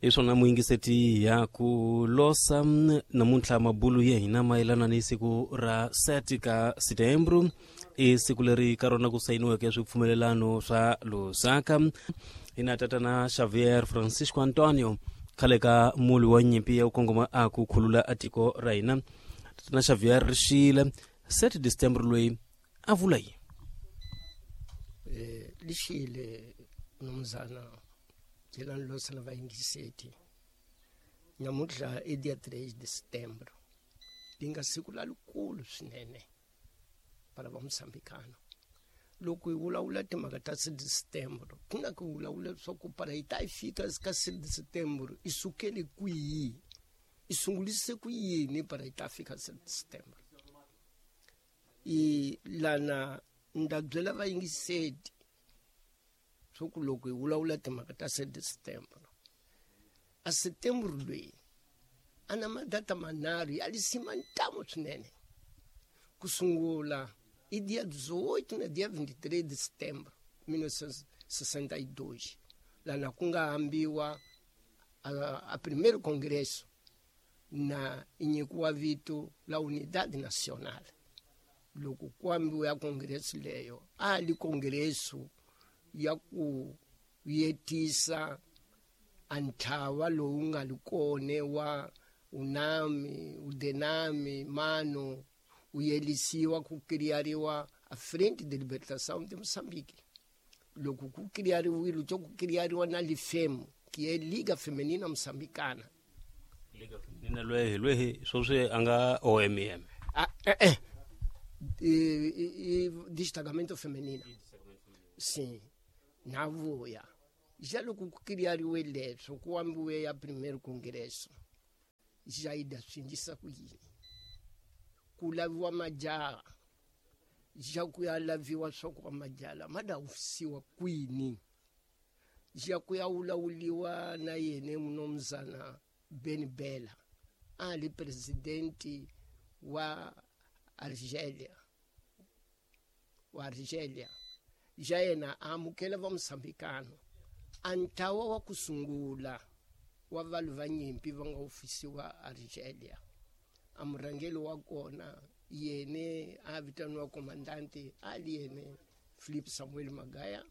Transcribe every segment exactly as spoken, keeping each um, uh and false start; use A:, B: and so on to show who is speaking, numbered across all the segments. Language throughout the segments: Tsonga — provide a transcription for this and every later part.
A: Hi swona muyingiseti ya ku losa namuntlha mabulu ya hina mayelana ni siku ra sete ka setembro, i siku leri ka rona ku sayiniweke swipfumelelano swa Lusaka. Hina tatana Xavier Francisco Antonio, khale ka muli wa nyimpi ya ku kongoma a ku khulula a tiko ra hina. Tatana Xavier Rixile, sete December loyi a vula yini?
B: Eh, lixile mnumzana Jelani Losa na vayingiseti. Namuntlha i dia três de setembro, li nga siku lalikulu swinene para va Moçambicano. Loko hi vulavula timhaka ta sete de setembro, ku na ku vulavula leswaku para hi ta yi fika ka sete de setembro i sukele kwihi, i sungulise ku yini para hi ta fika sete de setembro. I lana nda byela vayingiseti swa ku loko hi vulavula timhaka ta sete de setembro, a setembro loyi a na madata manharhu ya lisima ntamu swinene. Ku sungula i dia dezoito na dia vinte e três de setembro mil novecentos e sessenta e dois, lana ku nga hambiwa a, a primeiro congresso na nyikiwa vito la Unidade Nacional. Loko ku ambiwa ya congresso leyo, a li congresso ya ku yetisa a ntlawa lowu nga li kone wa UNAMI, UDENAMI, MANO, u yelisiwa ku criariwa a Frente de Libertação de Moçambique. Loko ku criariwile, to ku criariwa na LIFEMO, que é Liga Feminina Moçambicana.
A: Liga Feminina lwehi lwehi sweswi a nga O M M.
B: Ah, eh, eh. E, e, e destacamento feminino. Sim, na vuya. Já loko ku criariwe leswo, ku ambiwe ya primeiro congresso, já ida swi endlisa ku yini? Ku laviwa majaha, já ku ya laviwa swa ku majaha ma da hofisiwa kwini? Já ku ya vulavuriwa na yena mnumzana Ben Bella, a li presidente wa Argelia, wa Argelia. Já yena a amukela va Moçambicano. A ntlawa wa ku sungula wa vanhu va nyimpi va nga hofisiwa Argelia, a murhangeri wa kona yene a vitaniwa comandante, a li yene Philip Samuel Magaya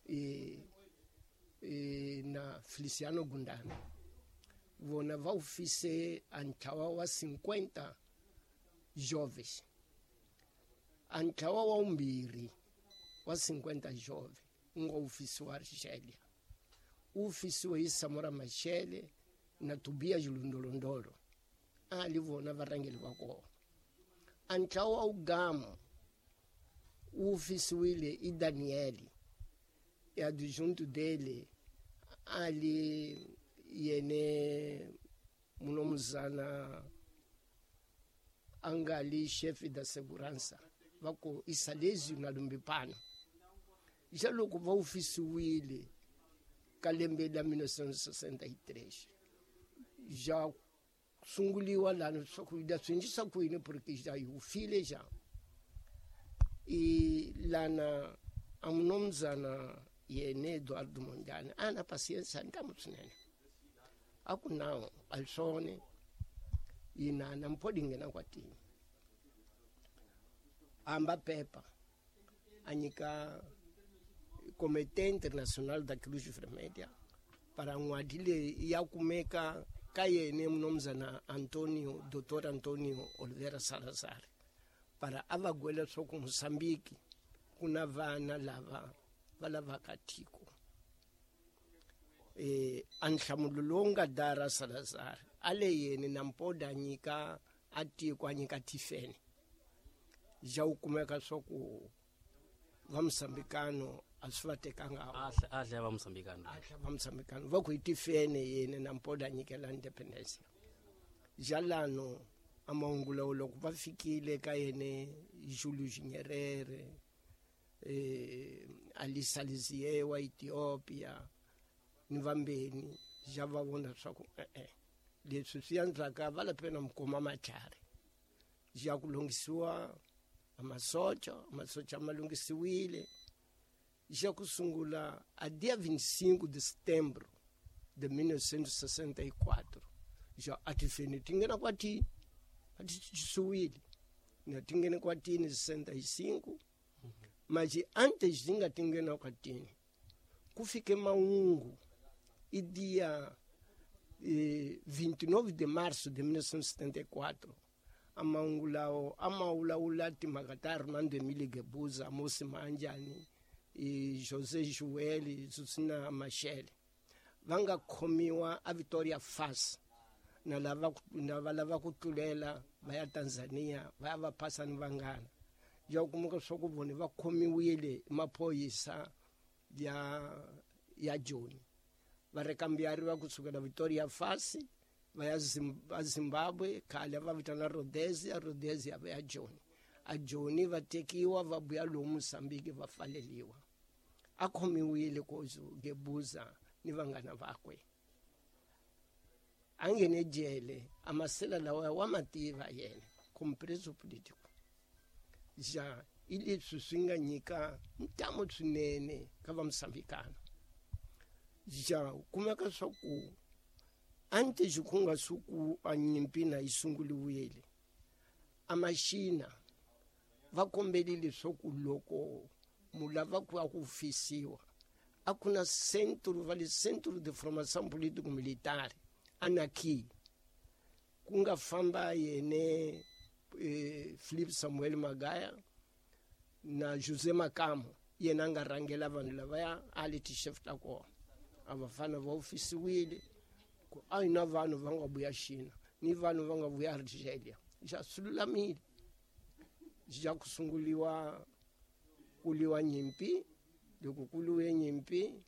B: e, e, na Feliciano Gundana. Vona va hofise a ntlawa wa cinquenta jovens. A ntlawa wa vumbirhi wa cinquenta jovens wu nga hofisiwa Argelia, wu hofisiwe hi Samora Machel na Tobias Lundolondolo, a li vona varhangeri va kona. A ntlawa wa Ugamo wu hofisiwile i Daniel, e adjunto dele a li yene mnumzana a nga li chefe da segurança va ku i Salesio na Lumbipano. Já loko va hofisiwile ka lembe la mil novecentos e sessenta e três, já sunguliwa lana swa ku da swi endlisa ku yini, porque já yi hofile já. E lana a mnumzana yene Eduardo Mondlane a na paciência ntamu swinene, a ku nawu a hi swona, yina na mpho nghena kwatini, amba pepa a nyika Comité Internacional da Cruz Vermelha para n'wadi leyi ya kumeka ka yene mnumzana Antonio, Doutor Antonio Oliveira Salazar, para a va gwela swa ku Moçambique ku na vana lava va lavaka tiko. Eh, a nhlamulo lowu nga dara Salazar a le yene na mpoda nyika a tiko a nyika tifene, ja wu kumeka swa ku va Moçambicano a swi va tekanga
A: a hlaya va Moçambicano,
B: a hlaya va Moçambicano va ku hi tifene yene na mpoda nyikela independence. Ja lano a mahungu lawo loko va fikile ka yene Julius Nyerere, eh, Ali Salizie wa Ethiopia ni vambeni, ja va vona swa ku e-e leswi swi andzaka va lapena mukoma matlhari, ja ku lunghisiwa a masocha, masocha ma lunghisiwile. Já ku sungula a dia vinte e cinco de setembro de mil novecentos e sessenta e quatro. Já a tifene tingena kwati atisuwile na tingena kwatini sessenta e cinco. Mas antes dinga tingena kwatini kufike maungu e dia eh, vinte e nove de março de mil novecentos e setenta e quatro amaungu lao amaulaula timaka Armando Emílio Guebuza, Amos Manjani e José Joel, Susina Machel vanga khomiwa a Vitória Fas na lava na valava ku tlulela va ya Tanzania va ya va phasa ni vanghana. Ja kumeka swa ku vona va khomiwile maphoyisa ya ya Joni va rekambiariwa kusukela Vitória Fas va ya Zimbabwe khale va vitana Rhodesia, Rhodesia va ya Joni. A Joni va tekiwa va vuya lomu Mozambique va faleliwa. A khomiwile kozo Guebuza ni vanghana vakwe. A nghene jele a masela lawa wa mativa yena como preso político. Ja i leswi swi nga nyika ntamu swinene ka va Mozambikana. Ja kumeka swa ku antes ku nga suku a nyimpi na yi sunguliwile a maxina va kombelile leswaku loko mu lava ku ya ku fisiwa a ku na centro va le centro de formação político militar anaki ku nga famba yene eh, Philip Samuel Magaya na José Makamo yena a nga rhangela vanhu lavaya a li ti-chef ta kona a va fana va ofisiwile ku a yi na vanhu va nga vuya Xina ni vanhu va nga vuya Argelia. Ja swi lulamile ja ku sunguliwa ku liwa nyimpi. Loko ku liwe nyimpi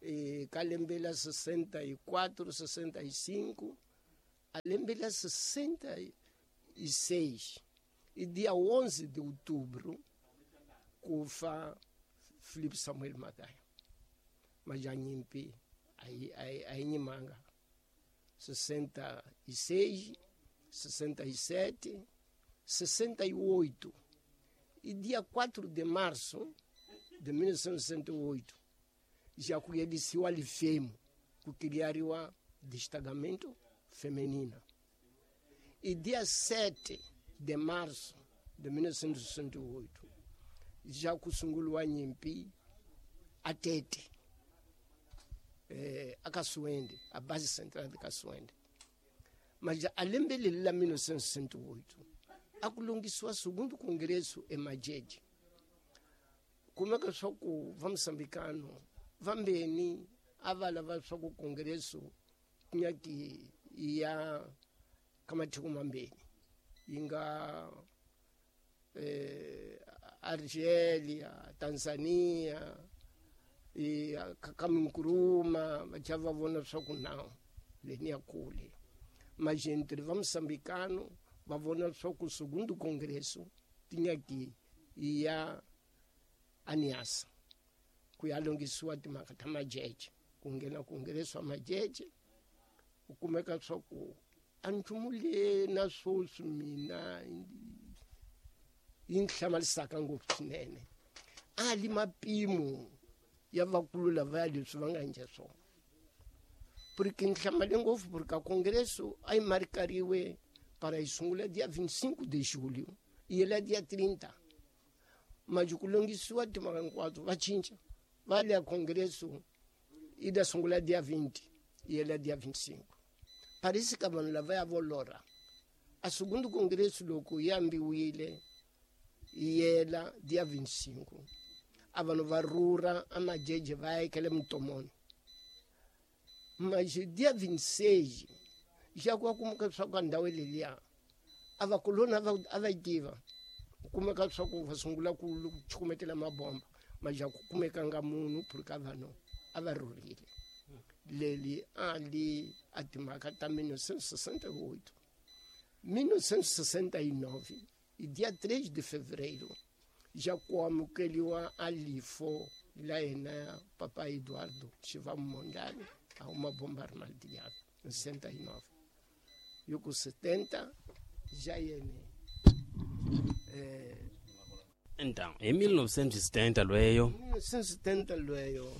B: eh, ka lembe la sessenta e quatro, sessenta e cinco a lembe la sessenta e seis e dia onze de outubro ku fa Philip Samuel Magaya. Mas a nyimpi a yi nyimanga sessenta e seis, sessenta e sete, sessenta e oito e dia quatro de março de mil novecentos e sessenta e oito já conheceu a Lifemo, que criaram destacamento feminino. E dia sete de março de mil novecentos e sessenta e oito já kusungulwa a nyimpi a Tete, eh, a Caçuende, a base central de Caçuende. Mas a lembe la mil novecentos e sessenta e oito akulungiswa segundo congresso em Majeje. Como é que só ku va moçambicano vambeni a va lava swa ku congresso nyaki ya ka matiko mambeni yi nga eh, Argelia, Tanzania e Kagame Nkrumah va cha va vona swa ku nawu leni ya kule. Mas entre va moçambicano va vona swa ku segundo congresso tinyaki ya Aniasa ku ya lungisiwa timhaka ta Majeje ku nghena congresso wa Majeje ku kumeka swa ku a nchumu le na swoswi mina yi ni hlamalisaka ngopfu swinene a li mapimo ya vakulu lavaya leswi va nga endla swona porque ni hlamale ngopfu porque a congresso a yi markariwe para yi sungula dia vinte e cinco de julho e ela dia trinta. Mas ku lungisiwa timhaka hinkwato va cinca va le congresso yi ta sungula dia vinte e ela dia vinte e cinco. Parece que vanhu lavaya vo lorha a segundo congresso loko yi ambiwile yi yela dia vinte e cinco a vanhu va rhurha a Majeje va ya ekele Mutomoni. Mas dia vinte e seis já ku kumeka swa ku ndhawu leliya a vakoloni a va yi tiva kumeka swa ku va sungula ku chukumetela mabomba mas já ku kumekanga munhu porque vanhu a va rhurhile. Leli a li a timhaka ta mil novecentos e sessenta e oito. mil novecentos e sessenta e nove e dia três de fevereiro já ku amukeliwa a lifo la yena papai Eduardo Chivambo Mondlane a uma bomba armadilhada em sessenta e nove. E com setenta já yene eh,
A: Então, em mil novecentos e setenta lweyo
B: mil novecentos e setenta lweyo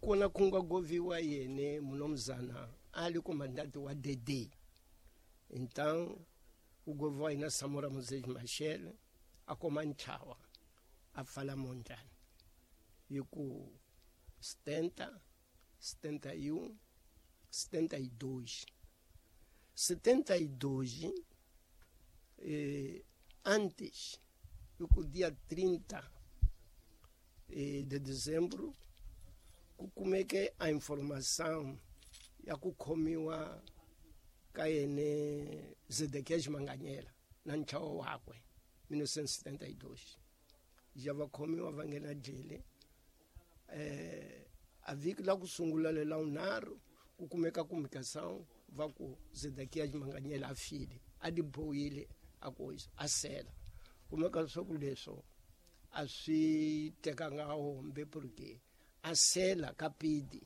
B: Kona ku nga goviwa yene munomzana ali comandante wa D D. Então o goviwa ina Samora Moses Machel a comanchava a fala monjani yiku setenta, setenta e um, setenta e dois. setenta e dois, eh, antes, o dia trinta eh, de dezembro, como é que a informação ya kukhomiwa ka yene Zedekias Manganyela na nchawo wakwe mil novecentos e setenta e dois. Já va khomiwa va nghena jele. Eh, a vhiki la ku sungula lela unharhu ku kumeka comunicação va ku Zedekias Manganyela a file, a dibohile a ku a sela. Kumeka leswaku leswo a swi tekanga hombe porque a sela ka pidi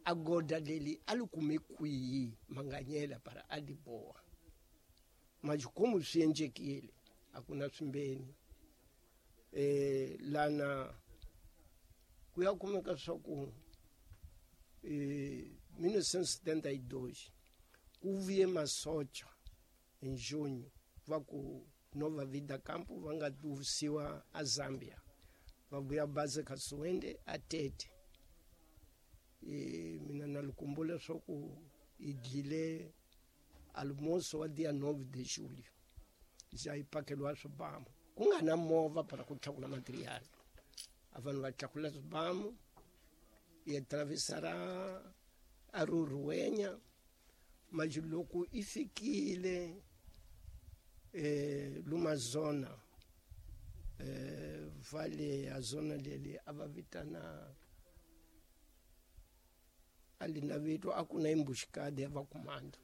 B: a goda leli a li kume kwihi Manganyela para a diboha. Mas como swi endlekile a ku na swimbeni eh lana ku ya kumeka swa ku eh mil novecentos e setenta e dois ku vuye masocha em junho va ku Nova Vida Campo va nga tusiwa a Zambia va vuya base ka Suwende a Tete. E mina na likumbula swa ku i dlile almoço wa dia nove de julho já i pakeliwa swibamu ku nga na movha para ku tlakula material a vanhu va tlakula swibamu i atravessara a Ruruwenya mas loko i fikile eh luma zona eh vale a zona leli a va vitana ali na vito a ku na embuscada ya va comando